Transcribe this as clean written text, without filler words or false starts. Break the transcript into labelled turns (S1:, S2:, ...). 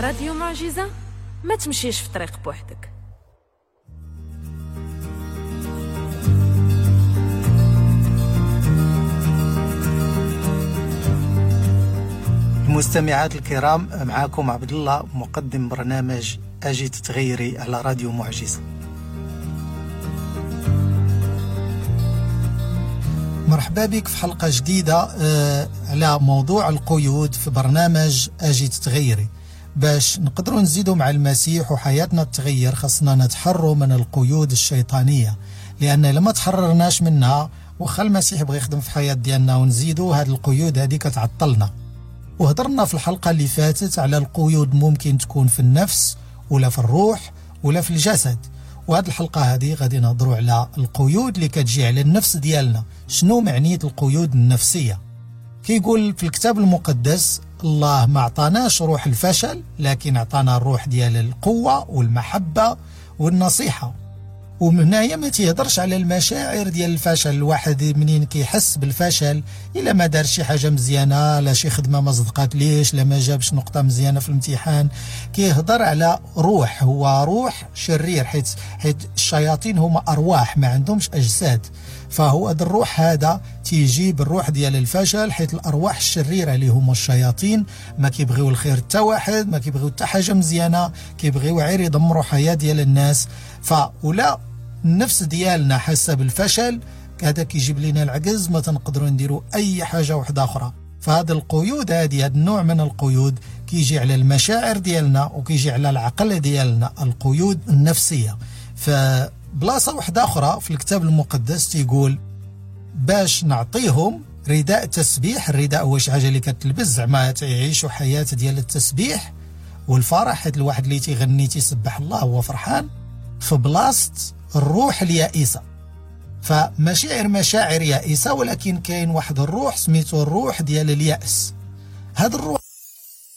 S1: راديو معجزة، ما تمشيش في طريق بوحدك.
S2: المستمعات الكرام، معاكم عبد الله مقدم برنامج أجي تتغيري على راديو معجزة. مرحبا بك في حلقة جديدة على موضوع القيود في برنامج أجي تتغيري. باش نقدروا نزيدوا مع المسيح وحياتنا تتغير خاصنا نتحروا من القيود الشيطانية، لأن لما تحررناش منها وخا المسيح بغى يخدم في حياة ديالنا ونزيدوا هاد القيود هذه كتعطلنا. وهضرنا في الحلقة اللي فاتت على القيود ممكن تكون في النفس ولا في الروح ولا في الجسد، وهاد الحلقة هذه غادي نهضروا على القيود اللي كتجي على النفس ديالنا. شنو معنية القيود النفسية؟ كيقول في الكتاب المقدس الله ما عطاناش روح الفشل، لكن عطانا الروح ديال القوة والمحبة والنصيحة. ومن هنايا ما تيهضرش على المشاعر ديال الفشل. الواحد منين كيحس بالفشل الا ما دار شي حاجه مزيانه، لا شي خدمه ما صدقات ليش، لا ما جابش نقطه مزيانه في الامتحان، كيهضر على روح، هو روح شرير، حيت الشياطين هما ارواح ما عندهمش اجساد. فهو هذا الروح هذا تيجيب الروح ديال الفشل، حيت الارواح الشريره اللي هما الشياطين ما كيبغيو الخير حتى واحد، ما كيبغيو حتى حاجه مزيانه، كيبغيو غير يدمروا حياه ديال الناس. فولا النفس ديالنا حاسه بالفشل، هذا كيجيب لنا العجز، ما تنقدروا نديروا اي حاجه واحده اخرى. فهذا القيود هذه، هذا النوع من القيود كيجي على المشاعر ديالنا وكيجي على العقل ديالنا، القيود النفسيه. فبلاصه واحده اخرى في الكتاب المقدس تيقول باش نعطيهم رداء تسبيح. الرداء هو شي حاجه اللي كتلبس، زعما تعيشوا حياه ديال التسبيح والفرح، حيت الواحد اللي تيغني تيسبح الله هو فرحان، في بلاصه الروح اليائسة. فمشاعر مشاعر يائسة، ولكن كاين واحد الروح سميتو الروح ديال اليأس. هذا الروح